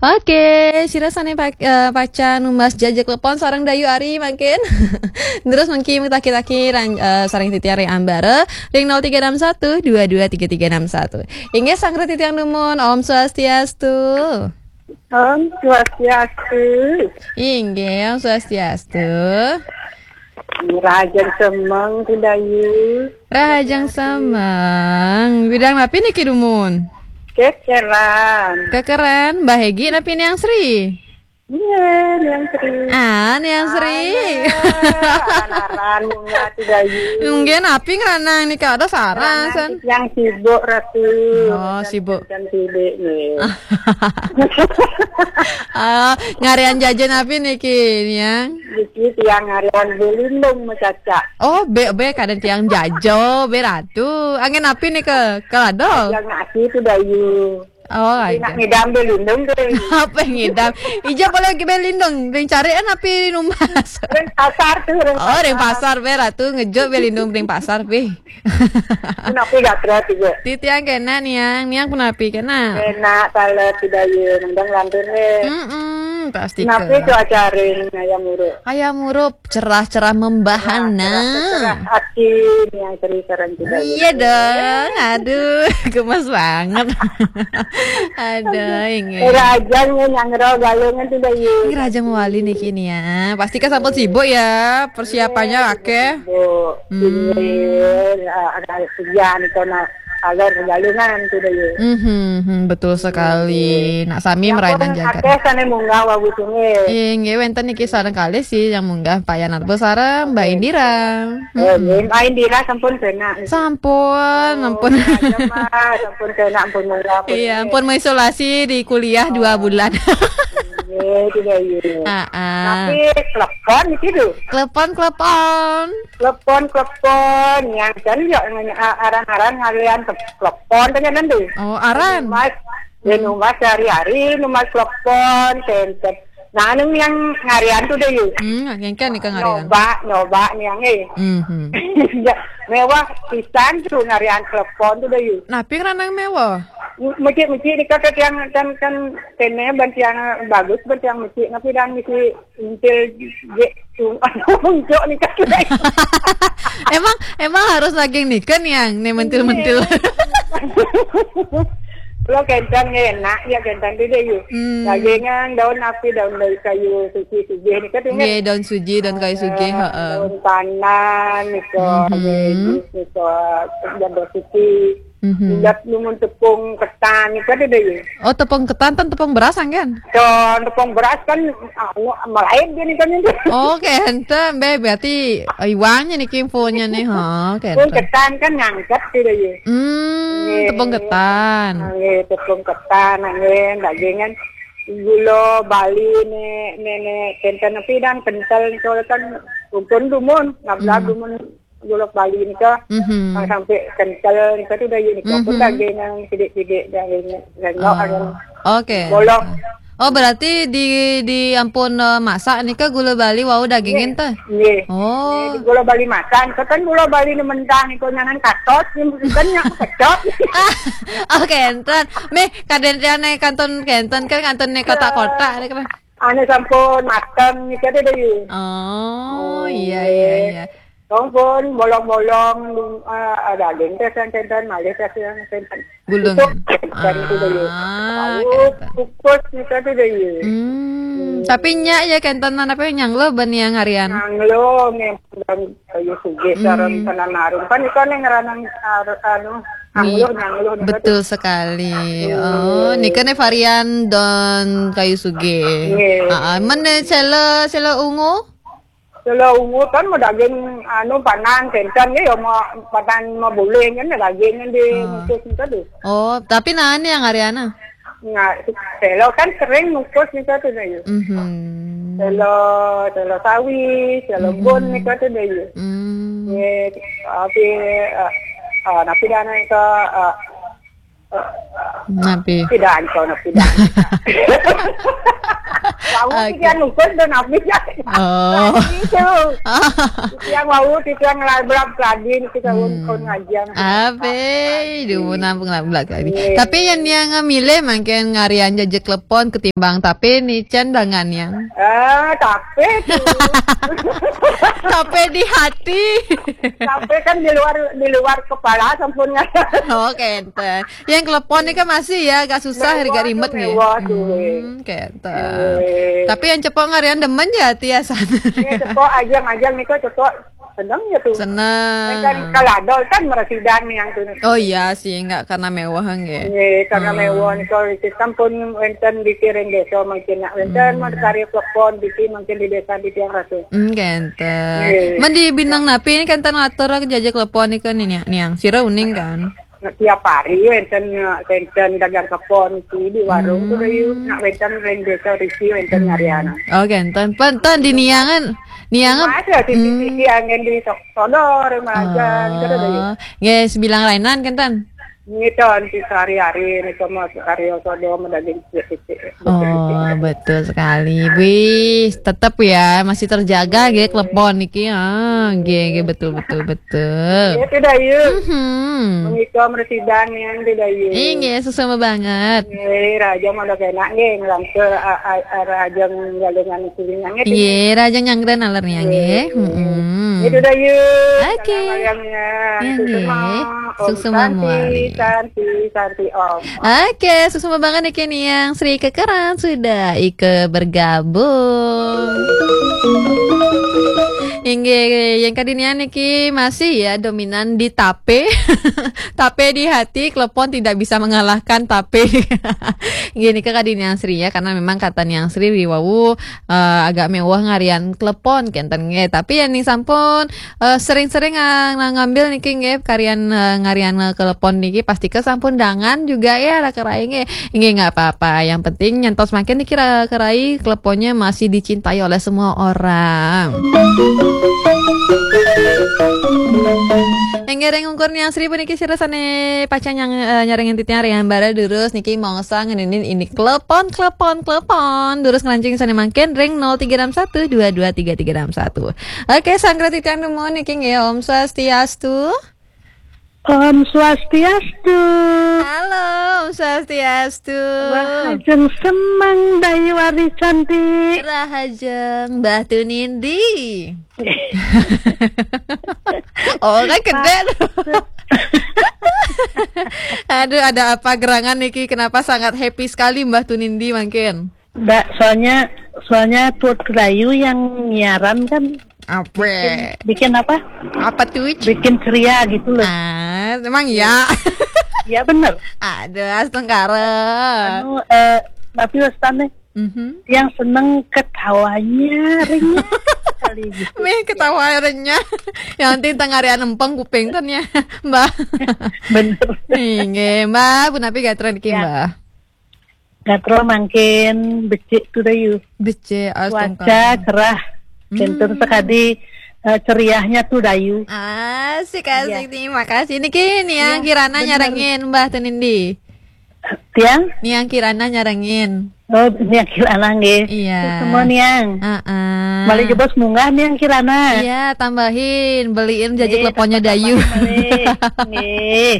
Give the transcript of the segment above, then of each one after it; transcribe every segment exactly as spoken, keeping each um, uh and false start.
Oke, sira sané pa- eh, pacang numbas jaja klepon sareng Dayu Ari mangkin. Terus mangkin mutah-mutah ring, eh, sareng titiang ring ambara ring nol tiga enam satu dua dua tiga tiga enam satu. Inggih, sanggra titiang dumun, Om Swastiastu. Om Swastiastu. Inggih, Om Swastiastu. Rahajeng semeng, Dayu. Rahajeng semeng. Bidang napi niki dumun? Kekeran. Kekeran, Mbah Egi napi Niang Sri? Iya, Niang Sri. Ah, Niang Sri. Aran-aran bunga, Dayu. Nggih, napi ngranang nika? Ada saran, San? Yang sibuk, Ratu. Oh, sibuk. Dan sibuk nih. Ah, ngarian jaja napi niki, Niang? Niki tiang ngarian belindung macacak. Oh, bé, bé kadén tiang jaja, bé Ratu. Anggén napi nika? Kalado? Yang nasi itu, Dayu. Oh, nak ngidam belindung, Dayu. Apa ngidam? Ija boleh bé lindung, ring carian napi numbas? Ring pasar tuh, ring Oh, ring pasar. Pasar, bé Ratu, ngejuk bé lindung ring pasar, bé. Napi gatra tiga? Titiang kénak, Niang. Niang punapi kénak? Enak, salah, tidak, ya. Nendang lantun, eh. Mm-mm, pasti Napi ke. Cuaca ring ayam uruk? Ayam uruk cerah-cerah membahana. Cerah, cerah hati, Niang Sri sareng, tidak, ya. Iya dong, aduh, gemes banget. Aduh, ini. Rahajeng, ya, nyangro galungan, tidak, ya. Ini rahajeng mawali niki, Niang. Pasti kan sampun sibuk ya, persiapannya akeh. Bu, Hmm. Ini, eh, ada kerjaan itu, nah, agar galungan itu, Dayu. Mhm, mhm, betul sekali. Nak sami Yang merainan pun jagat. Akeh sané munggah wau sungai. Inggih, wénten niki sareng kalih sih yang munggah, Pak Yanarbo sareng Mbak Indira. Eh, Mhm. Mbak Indira sampun kena. Sampun, Oh, ampun. Aja, Mas, sampun kena, ampun munggah, ampun. Iya, ampun mengisolasi di kuliah dua bulan. Iya, tidak, iya. Ah, ah. Tapi klepon itu tuh. Klepon, klepon. Klepon, klepon, yang kan ya, aran-aran ngalian klepon, kan nanti. Oh, aran. Mas, ya, numbas hari-hari, numbas klepon, senter. Nah, anu yang ngarian tuh deh, yuk. Hmm, ngengken nih, Kang Arian. Nyoba, nyoba nih yang, eh. Mhm. Ya, mewah pisan tuh ngarian klepon tuh deh, yuk. Napi ngranang mewah? Mesti-mesti nih, kan, kan, kan, kene ban tiang bagus, ban tiang mesti, tapi dan mesti Intil je tu muncul ni kan. Emang, emang harus lagi nika nih, yang nih mentil-mentil. Lo kentang enak ya, kentang tu deh, yuk. Hmm. Dagingan daun api, daun dari kayu suci, suci ni kan, ingat? Nggih, daun suji, daun kayu suji, heeh. Daun pandan ni, Mhm. Daun suci. Mhm. Ingat numun tepung ketan ni kan, deh, yuk. Oh, tepung ketan, ten tepung beras, anggen? Kan tepung beras kan, anu, malaib dia ni kan itu. Oh, kenten, bé, berarti iwangnya nih kimponya nih, ha, kenten. Pun ketan kan ngangkat tu deh, ya. Hmm, nggih. Tepung ketan. Nggih, tepung ketan, nggih, dagingan gula Bali nih, nenek kenten tapi dan kental nih, soalnya kan kumpul dumun, ngablah Hmm. dumun gula Bali nika, Mhm. Sampai kental nika tu deh, ya, nika pun Mhm. Daging yang sidik-sidik, daging rengok. Oh. Oke. Bolong. Oh, berarti di, di ampun, eh, masak nika gula Bali wau dagingin teh? Nggih. Oh. Nggih, gula Bali masak, nika kan gula Bali ni mentah, nika nyanan katot, ni bukan yang kecot. Ah, oh, kenten. Meh, kadén tiang nih kantun, kenten kan kantun nih kotak-kotak nih kan. Ane sampun mateng nika tu deh, ya. Oh, iya, iya, iya. Tong pun bolong-bolong, ah, ada daging teh yang kenten, malih teh yang kenten. Gulung. Itu, dari itu dulu. Ah, tahu, kenten. Kukus nika tu deh, ya. Hmm, tapi nyak ya kenten, apa nyanglo ban yang harian? Nyanglo, memang kayu suge, hmm, sareng tenan arum. Kan itu nih ngeranang ar-, anu, hmm, nyanglo, nyanglo nika tu. Betul sekali. Hmm. Oh, nika nih varian don kayu suge. Nggih. Heeh, men nih sela, sela ungu? Sela ungu kan mau daging anu panang kenten ya, mau panang mau buling kan daging di mukus itu tuh. Oh, tapi nah ini yang Ariana? Nah, sela kan sering mukus nih tuh deh. Mhm. Sela, sela sawi, sela bun nih tuh deh. Hmm. Ya, tapi, eh, eh, tapi dana itu, eh, Napi? Tidak, anu, tidak. Tahu Oke. Yang ngukur dan habis ya. Oh. Itu. Yang mau itu yang ngelabrak tadi itu tahun Hmm. tahun ngajian. Abe, duh, nampung nampung lagi. Iya. Tapi yang dia ngamile mungkin ngarian jejak telepon ketimbang tapi ni can dangan yang. Eh, tapi tuh. Tapi di hati. Tapi kan di luar di luar kepala sampun. Oke, ente. Yang telepon ni kan masih ya agak susah, Mewah agak tuh, rimet nih. Mewah tuh, weh. Hmm, kayak ente. Weh. Tapi yang cepok ngarian demen ya, Tia, sana. Ya, cepok ajang-ajang nih kok cepok seneng ya tuh. Seneng. Kan kalau adol kan meresidan nih yang tuh. Oh iya sih, nggak karena mewah, nggih. Nggih, karena Hmm. mewah nih kalau itu sampun wenten di Kiring Desa mungkin nak wenten Hmm. mau karya telepon di mungkin di desa di tiang ratu. Hmm, kayak ente. Nggih. Men di Binang Napi ini kan ten atur jejak telepon nih kan ini, niang. Sira uning kan? Tiap hari wenten wenten dagang klepon iki di warung Hmm. tuh Dayu. Nak wenten ring desa risi wenten Hmm. ngariana. Oh, kenten. Penten di niangan. Niangan. Ada di Hmm. sisi angin di Sok- Sodor, Majan, Oh. Kata Dayu. Nggih, sebilang lainan kenten. Ini tahun di sehari-hari ini sama karya sodo medaging titik-titik. Oh, betul sekali. Wih, tetap ya masih terjaga nggih klepon niki. Ah, nggih, nggih, betul, betul, betul. Iya, tidak, yuk. Mhm. Menikah meresidan yang tidak, yuk. Inggih, sesama banget. Nggih, raja mau udah enak nggih, ngelangke, a, a, a, raja nggalungan kulingan nggih. Nggih, raja nyangkren alernya nggih. Nggih. Mm-mm. Itu dah, yuk. Oke. Salam ayamnya. Iya, Susu nggih. Mau. Om Susu Santi, Mamuali. Santi, Santi, Om. Oke, suksma banget niki niang Sri Kekeran sudah ikut bergabung. Inggih, yang kadinian niki masih ya dominan di tape. Tape di hati, klepon tidak bisa mengalahkan tape. Gini ke kadinian Sri ya, karena memang kata niang Sri riwau eh, agak mewah ngarian klepon kenten nggih. Tapi ya nih sampun eh, sering-sering nga- nga- ngambil niki nggih karian eh, ngarian eh, klepon niki pasti ke sampun dangan juga ya ra kerai nggih. Nggih nggak apa-apa. Yang penting nyentos makin niki ra kerai kleponnya masih dicintai oleh semua orang. Enggih ring ungkur niang Sri puniki sira sane pacang nyang eh, nyarengin titiang ring ambara durus niki mongso ngeninin ini klepon klepon klepon durus ngelancing sane mangkin ring nol tiga enam satu dua dua tiga tiga enam satu. Oke, sanggra titiang nemu niki nggih Om Swastiastu. Om Swastiastu. Halo, Om Swastiastu. Rahajeng semeng Dayu Ari Cantik. Rahajeng Mbah Tunindi. Oh, kan gede tuh. Aduh, ada apa gerangan niki? Kenapa sangat happy sekali Mbah Tunindi mangkin? Mbak, soalnya soalnya Tuan Rayu yang nyiaran kan Apa? Bikin apa? Apa tuh? Bikin ceria gitu loh. Ah, emang ya? Iya bener. Aduh, astungkara. Anu, eh, tapi wastane Mhm. Yang seneng ketawanya renyah sekali gitu. Meh ketawa renyah. Yang penting tengah hari empeng kuping ten ya, Mbak. Bener. Inggih, Mbak, punapi gatra niki, Ya. Mbak? Gatra mangkin becik tuh Dayu. Becik, astungkara. Cuaca cerah. Hmm. Pinter sekali, eh, ceriahnya tuh Dayu. Asik, asik. Iya. Terima kasih. Niki niang Kirana bener. Nyarengin Mbah Tunindi. Tiang? Niang Kirana nyarengin. Oh, niang Kirana nggih. Iya. Semua niang. Heeh. Malih jebos munggah niang Kirana. Iya, tambahin, beliin jajak leponnya Dayu. Nggih, tambahin malih. Nggih.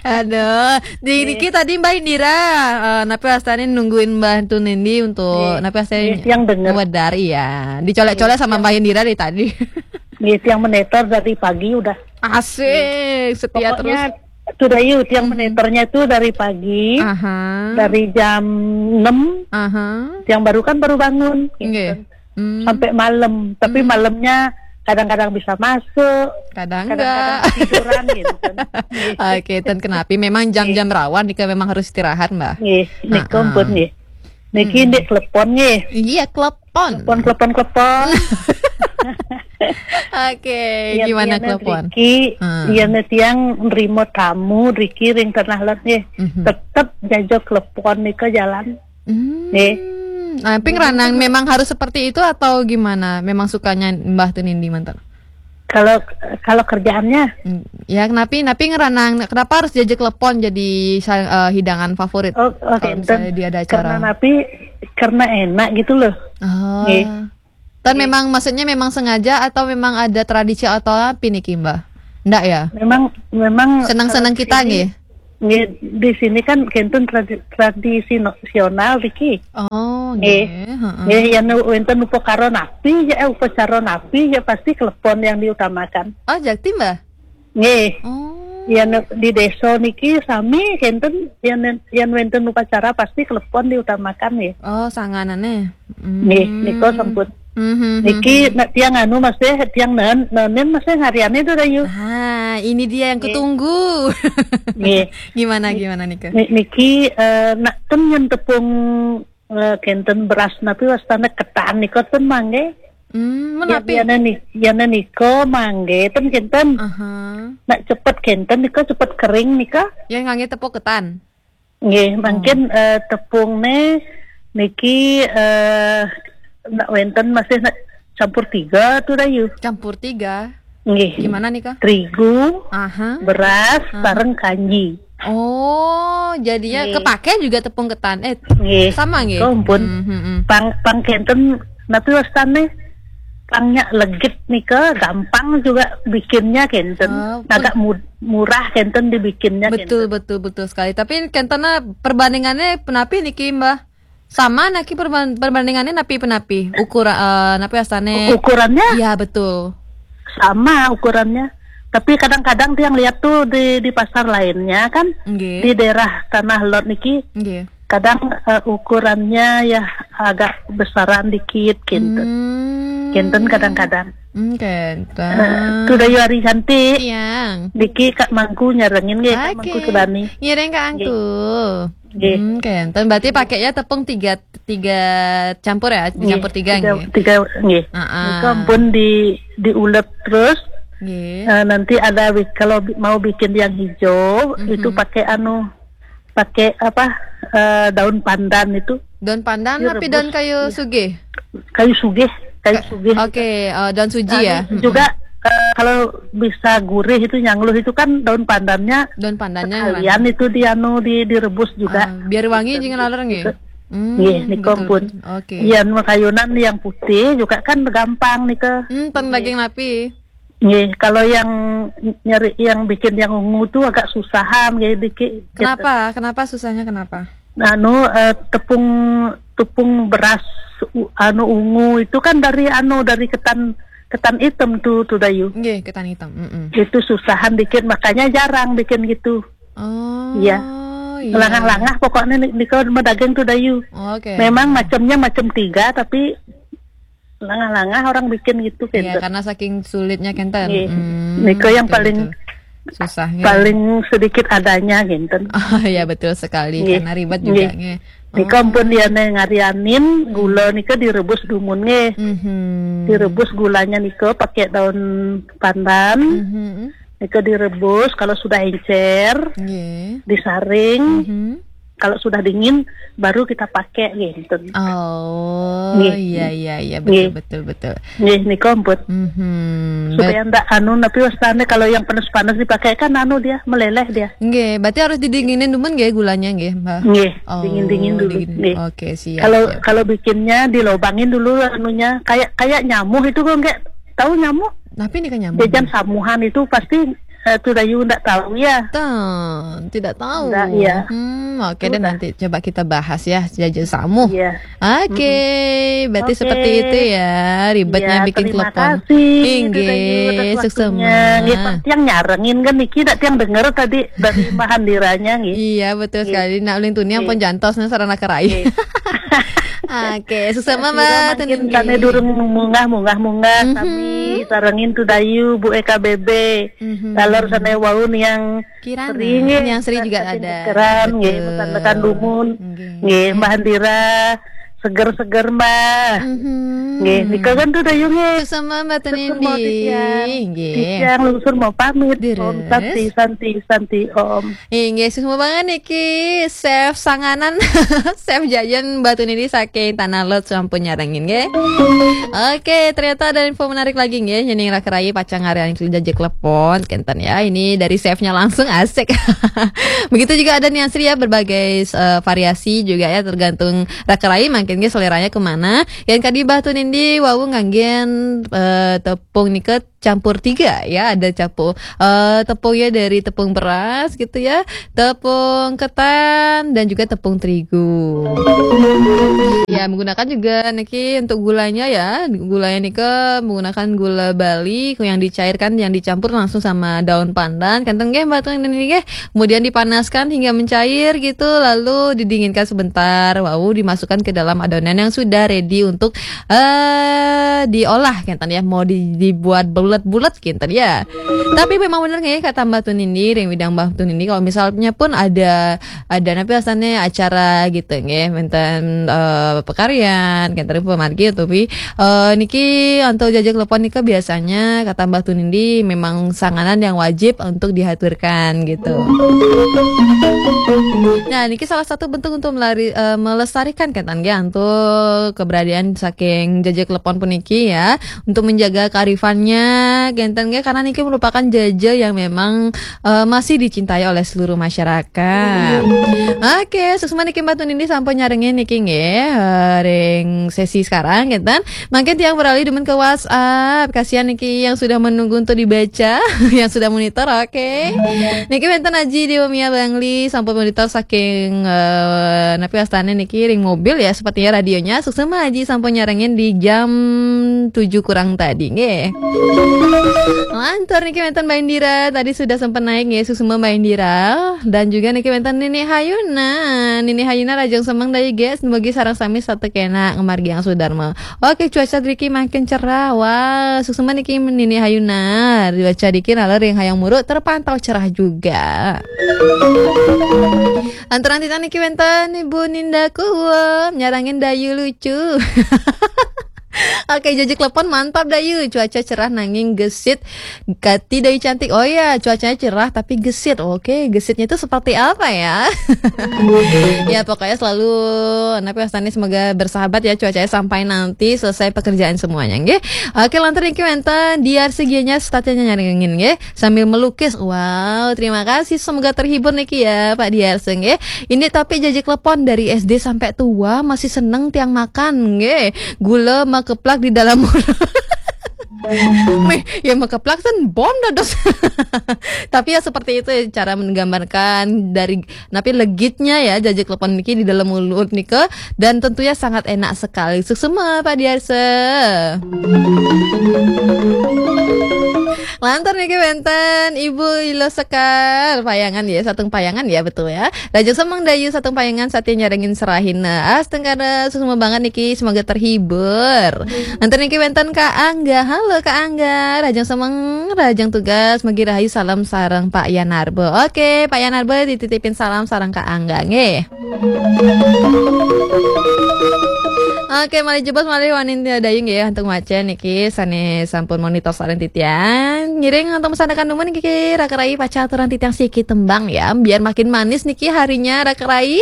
Aduh, di niki tadi Mbak Indira, eh, napi astane nungguin Mbah Tunindi untuk napi astane tiang denger. Wedar, iya. Dicolek-colek sama Mbak Indira dari tadi. Nggih, tiang meneter dari pagi udah. Asik, setia terus. Pokoknya tuh Dayu, tiang meneternya tuh dari pagi, Aha. Dari jam enam, Aha. Tiang baru kan baru bangun, gitu. Nggih. Hmm. Sampai malam. Tapi malamnya kadang-kadang bisa masuk, kadang enggak. Kadang-kadang ketiduran gitu kan. Oke, ten kenapi memang jam-jam rawan nika memang harus istirahat, Mbak. Nggih, nika pun nggih. Niki ndik telepon nggih. Iya, telepon. Telepon, telepon, telepon. Oke, gimana telepon? Riki, iya, tiang nerima tamu, Riki ring Tanah Lot nggih. Mhm. Tetep jajak telepon nika jalan. Hmm. Nggih. Nah, ping ranang memang harus seperti itu atau gimana? Memang sukanya Mbah Tunindi manten? Kalau, kalau kerjaannya? Hmm, ya, kenapi, napi ngeranang, kenapa harus jajak telepon jadi sa- eh, hidangan favorit? Oh, oke, kalau misalnya enten. Di ada acara. Karena napi karena enak gitu loh. Oh. Nggih. Dan memang, maksudnya, memang sengaja atau memang ada tradisi atau apa nih, Mbah? Ndak ya? Memang, memang senang kita tradisi, nggih. Nggih, di sini kan kenten tradi-, tradisional iki. Oh, nggih. Nggih, heeh. Nggih, yen wenten upakara napi ya, eh, upacara napi ya, pasti klepon yang diutamakan. Oh, jakti, Mbah? Nggih. Oh. Yen di desa niki sami kenten, yen, yen wenten upacara pasti klepon diutamakan nggih. Oh, sanganane. Nggih, nika sampun. Mhm, niki mhm. Nek tiang anu masih, tiang nen-, nenen masih ngariane to, Dayu. Ah, ini dia yang kutunggu. Nggih. Gimana, gimana nika? Ni-, niki, eh, nak ten yen tepung, eh, kenten beras napi wastane ketan nika ten mangke. Hmm, menapi? Yen, yen ni-, yen nika mangke ten kenten. Aha. Nak cepet kenten nika, cepet kering nika. Yang ngangge tepung ketan. Nggih, mungkin, eh, tepung ne niki, eh, nak wenten masih nak campur tiga tu, Dayu. Campur tiga? Nggih. Gimana nih, Kak? Terigu, aha, beras, aha, sareng kanji. Oh, jadinya nggih. Kepake juga tepung ketan. Eh, nggih. Sama nggih? Kempun. Hmm, hmm, hmm. Pang, pang kenten napi wastane? Pangnya legit nika, gampang juga bikinnya kenten. Oh, agak mud-, murah kenten dibikinnya. Betul, kenten. Betul, betul sekali. Tapi kentennya perbandingannya penapi niki, Mbah? Sama naki perban-, perbandingannya napi penapi? Ukur, eh, napi wastane? Ukurannya? Iya, betul. Sama ukurannya. Tapi kadang-kadang tiang lihat tuh di, di pasar lainnya kan, nggih, di daerah Tanah Lot niki. Nggih. Kadang, eh, ukurannya ya agak besaran dikit, kinten. Hmm. Kinten kadang-kadang. Hmm, kinten. Eh, sudah yari cantik. Siang. Niki Kak Mangku nyarengin nggih, Kak Mangku Sudani. Ngiring Kak Angku. Nggih. Hmm, kinten. Berarti pakainya tepung tiga, tiga campur ya? Nggih, dicampur tiga, tiga, nggih? Tiga, nggih. Heeh. Nika ampun di, diulek terus. Nggih. Eh, nanti ada bi-, kalau bi-, mau bikin yang hijau, mhm, itu pakai anu, pakai apa, eh, daun pandan itu. Daun pandan direbus. Tapi daun kayu sugih? Kayu sugih, kayu sugih. Oke, eh, daun suji ya? Anu, mm-mm. Juga, eh, kalau bisa gurih itu nyangluh itu kan daun pandannya. Daun pandannya sekalian mana? Itu di anu, di, direbus juga. Ah, biar wangi gitu. Jangan laler nggih? Gitu. Hmm, nggih, nika betul, ampun. Betul. Oke. Iya, nu kayunan yang putih juga kan gampang nika. Hmm, teng daging napi. Nggih, kalau yang nyari, yang bikin yang ungu tuh agak susahan, nggih, dikit, gitu. Kenapa? Kenapa susahnya, kenapa? Anu, eh, tepung, tepung beras u-, anu, ungu itu kan dari anu, dari ketan, ketan hitam tuh, tuh, Dayu. Nggih, ketan hitam, mm-mm. Itu susahan dikit, makanya jarang bikin gitu. Oh, iya. Iya. Langah-langah pokoknya ni-, nika medaging tuh, Dayu. Oke. Memang macamnya macam tiga, tapi langah-langah orang bikin gitu, iya, kenten. Karena saking sulitnya, kenten. Iya. Hmm, nika yang betul, paling, betul. Susahnya. Paling sedikit adanya, kenten. Oh, iya, betul sekali. Iya. Karena ribet juga, iya, nggih. Nika ampun dia ne ngarianin, gula nika direbus dumun nggih. Mhm. Direbus gulanya nika pakai daun pandan. Mhm. Nika direbus, kalau sudah encer, nggih, disaring. Mhm. Kalau sudah dingin, baru kita pakai, gitu. Oh, nggih, iya, iya, iya, betul, nggih, betul, betul. Nggih, nika ampun. Mhm. Supaya ndak anu, tapi wastane kalau yang panas-panas dipakai kan anu dia, meleleh dia. Nggih, berarti harus didinginin dulu nggih gulanya nggih, Mbak? Nggih, oh, dingin-dingin dulu, dingin. Nggih. Oke, siap, kalau, siap. Kalau bikinnya dilobangin dulu anunya, kayak, kayak nyamuh itu kok nggak tahu nyamuh? Tapi ini kan nyamuh. Jajan samuhan itu pasti, eh, tuh Dayu ndak tahu ya? Tuh, tidak tahu. Ndak, iya. Hmm, oke deh, nanti coba kita bahas ya, jajan samuh. Iya. Oke, berarti seperti itu ya, ribetnya bikin klepon. Iya, terima kasih, Dayu, atas waktunya. Inggih, sukses. Nggih, pas tiang nyarengin kan niki, ndak tiang denger tadi dari Mahandiranya, nggih. Iya, betul sekali. Nak ulin tuni ampun jantos, nah, sarana kerai. Nggih. Oke, sukses, Mbak. Kira makin tane durung munggah, munggah, munggah, sami sarengin tuh Dayu, Bu E K B B. Mhm. Lalor sane wau yang Kirana. Sri, nggih. Yang Sri juga ada. Keran, nggih, betul. Pesan tekan dumun. Nggih. Nggih, Mbah Andira, seger-seger, Mbah. Mhm. Nggih, nika kan tuh Dayu, nggih. Sukses, Mbak Tunindi. Sukses, mau titiang. Nggih. Titiang lungsur mau pamit. Om Santi, Santi, Santi, Om. Inggih, sukses banget niki. Chef sanganan, Chef Jajan Mbah Tunindi saking Tanah Lot sampun nyarengin, nggih. Oke, ternyata ada info menarik lagi, nggih. Nyening raka rayi pacang ngarian jajak klepon, kenten ya. Ini dari chefnya langsung, asik. Begitu juga ada Nian Sri ya, berbagai, eh, variasi juga ya, tergantung raka rayi, mak-, Kengge seleranya kemana? Yang kadi Mbah Tun Indi wau nganggen eh, tepung nika campur tiga ya, ada campur eh, tepungnya dari tepung beras gitu ya, tepung ketan dan juga tepung terigu. Ya, menggunakan juga niki untuk gulanya ya. Gulanya nika menggunakan gula Bali yang dicairkan, yang dicampur langsung sama daun pandan. Kenten nggih, Mbah Tun Indi nggih. Kemudian dipanaskan hingga mencair gitu, lalu didinginkan sebentar. Wau dimasukkan ke dalam adonan yang sudah ready untuk eh diolah kenten ya, mau di- dibuat bulat-bulat kenten ya. Tapi memang bener nggih kata Mbah Tun Indi, ring widang Mbah Tun Indi, kalau misalnya pun ada ada napi asalnya acara gitu nggih, menten eh, pekarian, kenten pemargi, tapi eh, niki untuk jajak lepon nika biasanya kata Mbah Tun Indi memang sanganan yang wajib untuk dihaturkan gitu. Nah, niki salah satu bentuk untuk melari, eh, melestarikan kenten nggih, untuk keberadaan saking jajak lepon puniki ya, untuk menjaga kearifannya kenten nggih, karena niki merupakan jaja yang memang eh, masih dicintai oleh seluruh masyarakat. Oke, suksma niki Mbah Tun Indi sampun nyarengin niki nggih, eh, ring sesi sekarang kenten. Mangkin tiang beralih demen ke WhatsApp. Kasihan niki yang sudah menunggu untuk dibaca, yang sudah monitor. Oke. Niki wenten Aji Dewa Mia Bangli sampun monitor saking eh, napi wastane niki ring mobil ya. Sepertinya radionya suksma Aji sampun nyarengin di jam tujuh kurang tadi nggih. Lantur niki wenten Mbak Indira, tadi sudah sempat naik nggih, suksma Mbak Indira, dan juga niki wenten Nini Hayuna. Nini Hayuna, rajang semeng dayu guys, mugi sareng sami satu kena ngemargi yang sudarma. Oke, cuaca driki makin cerah. Wah, suksma niki Nini Hayuna. Cuaca driki nalor yang hayang muruk terpantau cerah juga. Lanturan titan niki wenten Ibu Ninda Kuwem nyarangin dayu lucu. Oke, jajak lepon mantap dayu. Cuaca cerah nanging gesit. Kati dayu cantik. Oh ya, cuacanya cerah tapi gesit. Oke, gesitnya itu seperti apa ya? Ya, pokoknya selalu napi wastane, semoga bersahabat ya cuacanya sampai nanti selesai pekerjaan semuanya nggih. Oke, lantur niki wenten Diar Segianya, statnya nyarengin nggih, sambil melukis. Wow, terima kasih, semoga terhibur niki ya Pak Diar nggih. Ini tapi jajak lepon dari S D sampai tua masih seneng tiang makan nggih. Gula makeplak di dalam mulut. Meh, ya makeplak kan bom dados. Tapi ya seperti itu ya cara menggambarkan dari napi legitnya ya jajak lepon niki di dalam mulut nika, dan tentunya sangat enak sekali. Suksma Pak Diarse. Lantur niki wenten Ibu Ilo Sekar Payangan ya, Satung Payangan ya, betul ya. Raja Semang Dayu Satung Payangan, satia nyarengin serahin. Nah, asteng kada suksma banget niki, semoga terhibur. Lantur niki wenten Kak Angga. Halo Kak Angga, rajang semeng, rajang tugas, mugi rahayu, salam sareng Pak Yanarbo. Oke, Pak Yanarbo dititipin salam sareng Kak Angga nggih. Oke, malih jebos malih wanin dayu nggih, antuk maca niki sane sampun monitor sareng titiang. Ngiring antuk mesanakan numun niki raka rai, paca aturan titiang siki tembang ya, biar makin manis niki harinya raka rai.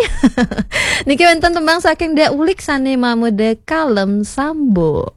Niki wenten tembang saking Dak Ulik sane mamede Kalem Sambo.